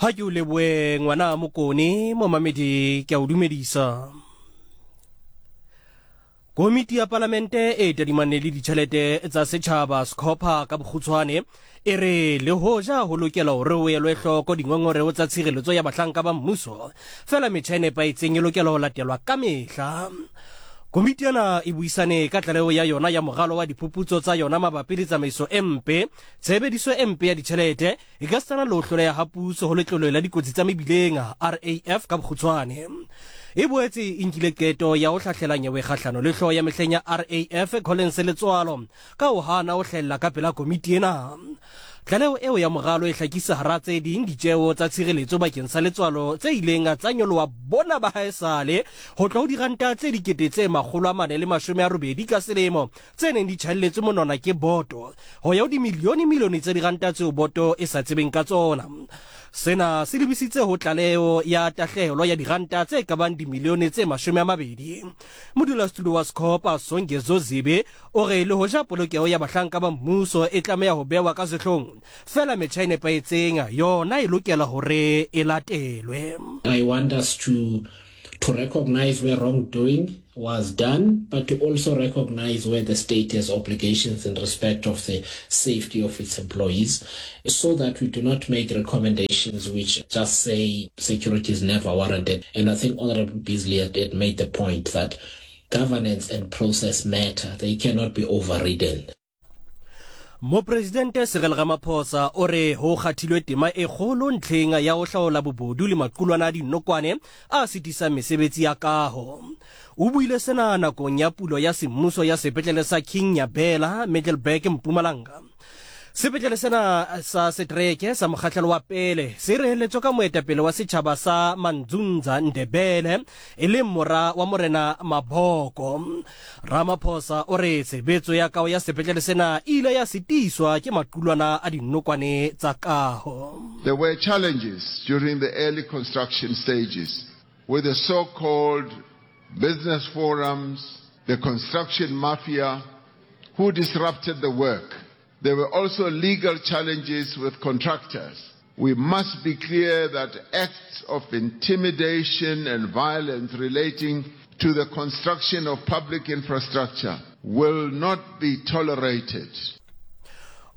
Ha ke o leboe ngwana Mokone, momamedi ke a o dumedisa. Komiti ya Palamente e tadimane le ditjhelete tsa setjhaba SCOPA ka bokgutshwane e re le hoja ho lokela hore ho elwe hloko dingongoreo tsa tshireletso ya bahlanka ba mmuso, fela metjha e nepahetseng e lokela ho latelwa ka mehla. Komiti ena e buisane ka tlaleho ya yona ya moralo wa diphuputso tsa yona mabapi le tsamaiso e mpe, tshebediso e mpe ya ditjhelete Ekasitana le ho hloleha ha puso ho Letlole la Dikotsi tsa Mebileng, RAF ka bokgutshwane, e boetse e nkile qeto ya ho hlahlela nyewe kgahlano le hlooho ya mehleng ya RAF, Collins Letsoalo, ka ho hana ho hlahella ka pela komiti ena. Tlaleho eo ya moralo e hlakisa hara tse ding ditjeo tsa tshireletso bakeng sa Letsoalo tse ileng tsa nyoloha bona ba haesale ho tloha ho diranta tse 480 ka selemo tse neng di tjhaelletswe monwana ke boto ho ya ho dimilione-milione tsa diranta tseo boto e sa tsebeng ka tsona. Sena se lebisitse ho tlaleho ya tahlehelo ya diranta tse ka bang dimilione tse 20. Modulasetulo wa SCOPA, Songezo Zibi, o re le hoja polokeho ya bahlanka ba mmuso e tlameha ho bewa ka sehlong, feela metjha e nepahetseng yona e lokela hore e latelwe. I want us to to recognize where wrongdoing was done, but to also recognize where the state has obligations in respect of the safety of its employees, so that we do not make recommendations which just say security is never warranted. And I think Honorable Beasley had, had made the point that governance and process matter. They cannot be overridden. Mopresidente Cyril Ramaphosa o re ho kgathilwe tema e kgolo ntlheng ya ho hlaola bobodu le maqulwana a dinokwane a sitisang mesebetsi ya kaho. O buile sena nakong ya pulo ya semmuso ya sepetlele sa King Nyabela, Middelburg, Mpumalanga. Sepetlele sena sa setereke sa mokgahlelo wa pele se reheletswe ka moetapele wa setjhaba sa Mandzundza Ndebele e leng mora wa Morena Mabhoko. Ramaphosa o re tshebetso ya kaho ya sepetlele sena e ile ya sitiswa ke maqulwana a dinokwane tsa kaho. There were challenges during the early construction stages with the so-called business forums, the construction mafia, who disrupted the work. There were also legal challenges with contractors. We must be clear that acts of intimidation and violence relating to the construction of public infrastructure will not be tolerated.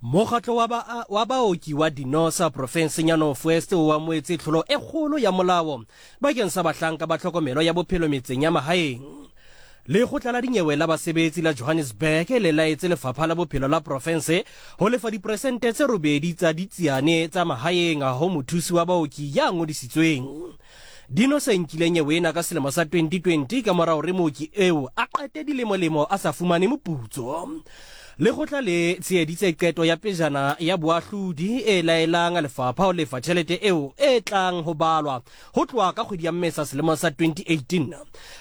Mokgatlo wa ba wa baoki wa Dinosa profenseng ya North West o amoetse tlholo e kgolo ya molao bakeng sa bahlanka ba tlhokomelo ya bophelo metseng ya mahaeng. Lekgotla la dinyewe la basebetsi la Johannesburg le laetse lefapha la bophelo la profense ho lefa diperesente tse robedi tsa ditsiane tsa mahaeng ho mothusi wa baoki ya ngodisitsweng. Dino se nkile nyewe ena ka selemo sa 2020 ka mora hore mooki eo a qete dilemolemo a sa fumane moputso. Lekgotla le tsheheditse qeto ya pejana ya boahlodi e laelang lefapha ho lefa tjhelete eo e tlang ho balwa Ho tloha ka kgwedi ya Mmesa selemong sa 2018,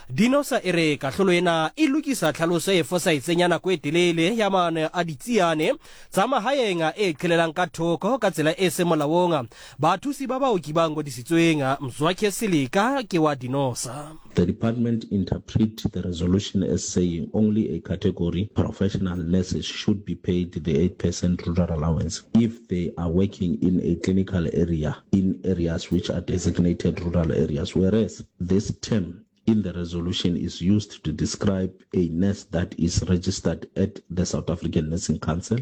Dinosa e re kahlolo ena e lokisa tlhaloso e fosahetseng ya nako e telele ya maano a ditsiane tsa mahaeng e qhelelang ka thoko ka tsela e seng molaong bathusi ba baoki ba ngodisitsweng. Mzwakhe Silika ke wa Dinosa. The department interpret the resolution as saying only a category, professional nurses, should be paid the 8% rural allowance if they are working in a clinical area in areas which are designated rural areas, whereas this term in the resolution is used to describe a nurse that is registered at the South African Nursing Council.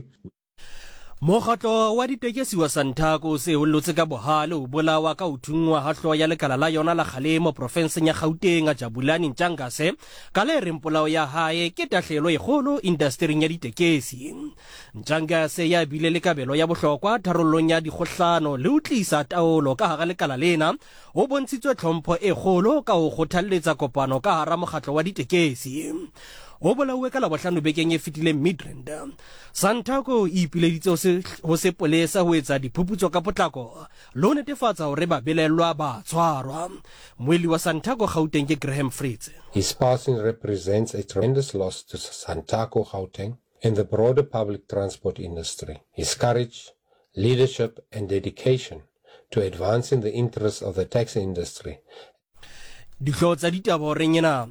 Mokgatlo wa ditekesi wa Santaco o se o llotse ka bohale o bolawa ka ho thunngwa ha hlooho ya lekala la yona la kgalemo profenseng ya Gauteng, Jabulani Ntshangase, ka le reng polao ya hae ke tahlehelo e kgolo indastering ya ditekesi. Ntshangase ya bile le kabelo ya bohlokwa tharollong ya dikgohlano le ho tlisa taolo ka hara lekala lena, o bontshitswe tlhompho e kgolo ka ho kgothalletsa kopano ka hara mokgatlo wa ditekesi. O bolauwe ka Labohlano bekeng e fetileng Midrand. Santaco e ipileditse ho sepolesa ho etsa diphuputso ka potlako le ho netefatsa hore babelaellwa ba tshwarwa. Moeli wa Santaco Gauteng ke Graham Fritz. His passing represents a tremendous loss to Santaco Gauteng and the broader public transport industry. His courage, leadership and dedication to advancing the interests of the taxi industry Dihlooho tsa ditaba horeng ena.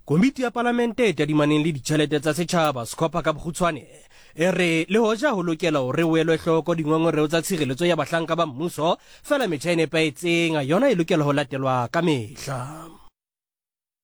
Komiti ya Palamente e tadimaneng le ditjhelete tsa setjhaba, SCOPA ka bokgutshwane, E re le hoja ho lokela hore ho elwe hloko dingongoreo tsa tshireletso ya bahlanka ba mmuso, fela metjha e nepahetseng yona e lokela ho latelwa ka mehla.